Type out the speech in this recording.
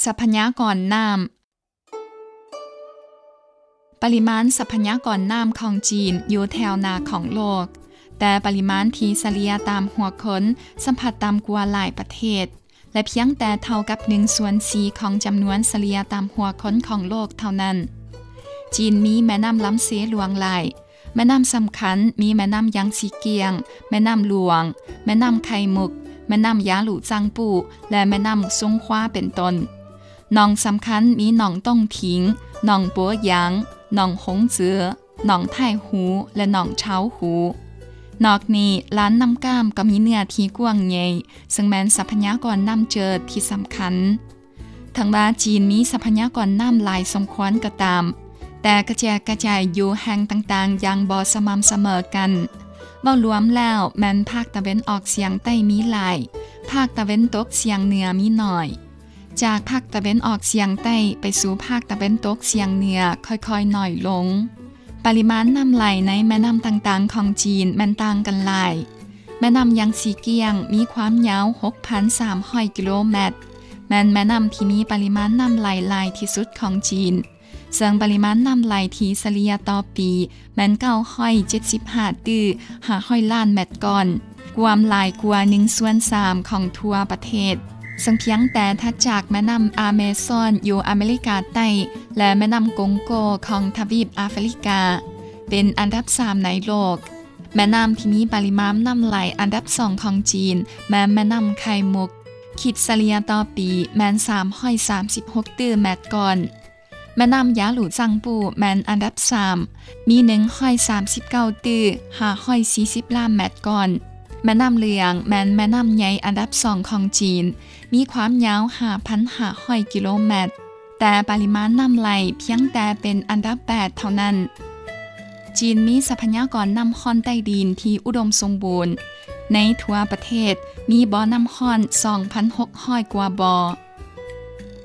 ຊັບພະຍາກອນນ້ຳ. ປະລິມານຊັບພະຍາກອນນ້ຳຂອງຈີນຢູ່ແຖວໜ້າຂອງໂລກ, ແຕ່ປະລິມານທີ່ສະເລ່ຍຕາມຫົວຄົນສຳພັດຕ່ຳກວ່າຫຼາຍປະເທດ ແລະ ພຽງແຕ່ເທົ່າກັບໜຶ່ງສ່ວນສີ່ຂອງຈຳນວນສະເລ່ຍຕາມຫົວຄົນຂອງໂລກເທົ່ານັ້ນ. ຈີນມີແມ່ນ້ຳລຳເຊຫຼວງຫຼາຍ. ແມ່ນ້ຳສຳຄັນມີແມ່ນ້ຳຢາງຊີກຽງ, ແມ່ນ້ຳຫຼວງ, ແມ່ນ້ຳໄຂ່ມຸກ, ແມ່ນ້ຳຢາຫຼູ່ຈາງປູ້ ແລະ ແມ່ນ້ຳສົງຂວາເປັນຕົ້ນ. ໜອງສຳຄັນມີໜອງຕົງຜິງ, ໜອງໂປຢາງ, ໜອງຫົງເຈືອ, ໜອງໄທຫູ ແລະ ໜອງເຊົາຫູ. ນອກນີ້, ລານນ້ຳກ້າມກໍມີເນື້ອທີ່ກວ້າງໃຫຍ່, ເຊິ່ງແມ່ນຊັບພະຍາກອນນ້ຳເຈີທີ່ສຳຄັນ. ເຖິງວ່າຈີນມີຊັບພະຍາກອນນ້ຳຫຼາຍສົມຄວນກໍຕາມ, ແຕ່ກະແຈກກະຈາຍຢູ່ແຫ່ງຕ່າງໆຢ່າງບໍ່ສະໝ່ຳສະເໝີກັນ. ເວົ້າລວມແລ້ວແມ່ນພາກຕາເວັນອອກສຽງໃຕ້ມີຫຼາຍ, ພາກຕາເວັນຕົກສຽງເໜືອມີໜ້ອຍ. ຈາກພາກຕາເວັນອອກສຽງໃຕ້ໄປສູ່ພາກຕາເວັນຕົກສຽງເໜືອຄ່ອຍໆໜ້ອຍລົງ. ປະລິມານນ້ຳໄຫຼໃນແມ່ນ້ຳຕ່າງໆຂອງຈີນແມ່ນຕ່າງກັນຫຼາຍ. ແມ່ນ້ຳຢາງຊີກຽງມີຄວາມຍາວຫົກພັນສາມຮ້ອຍກິໂລແມັດ, ແມ່ນແມ່ນ້ຳທີ່ມີປະລິມານນ້ຳໄຫຼຫຼາຍທີ່ສຸດຂອງຈີນ, ເຊິ່ງປະລິມານນ້ຳໄຫຼທີ່ສະເລ່ຍຕໍ່ປີແມ່ນເກົ້າຮ້ອຍເຈັດສິບຫ້າຕື້ຫ້າຮ້ອຍລ້ານແມັດກ້ອນ, ກວມຫຼາຍກວ່າໜຶ່ງສ່ວນສາມຂອງທົ່ວປະເທດ, ເຊິ່ງພຽງແຕ່ຖັດຈາກແມ່ນ້ຳອາເມຊອນຢູ່ອາເມລິກາໃຕ້ ແລະ ແມ່ນ້ຳກົງໂກຂອງທະວີບອາຟຣິກາ ເປັນອັນດັບສາມໃນໂລກ. ແມ່ນ້ຳທີ່ມີປະລິມານນ້ຳໄຫຼອັນດັບສອງຂອງຈີນແມ່ນແມ່ນ້ຳໄຂ່ມຸກ, ຄິດສະເລ່ຍຕໍ່ປີແມ່ນສາມຮ້ອຍສາມສິບຫົກຕື້ແມັດກ້ອນ. ແມ່ນ້ຳຢາຫຼູ່ຈາງປູ້ແມ່ນອັນດັບສາມ, ມີໜຶ່ງຮ້ອຍສາມສິບເກົ້າຕື້ຫ້າຮ້ອຍສີ່ສິບລ້ານແມັດກ້ອນ. ແມ່ນ້ຳເຫຼືອງແມ່ນແມ່ນ້ຳໃຫຍ່ອັນດັບສອງຂອງຈີນ, ມີຄວາມຍາວຫ້າພັນຫ້າຮ້ອຍກິໂລແມັດ, ແຕ່ປະລິມານນ້ຳໄຫຼພຽງແຕ່ເປັນອັນດັບແປດເທົ່ານັ້ນ. ຈີນມີຊັບພະຍາກອນນ້ຳຮ້ອນໃຕ້ດິນທີ່ອຸດົມສົມບູນ. ໃນທົ່ວປະເທດມີບໍ່ນ້ຳຮ້ອນສອງພັນຫົກຮ້ອຍກວ່າບໍ່.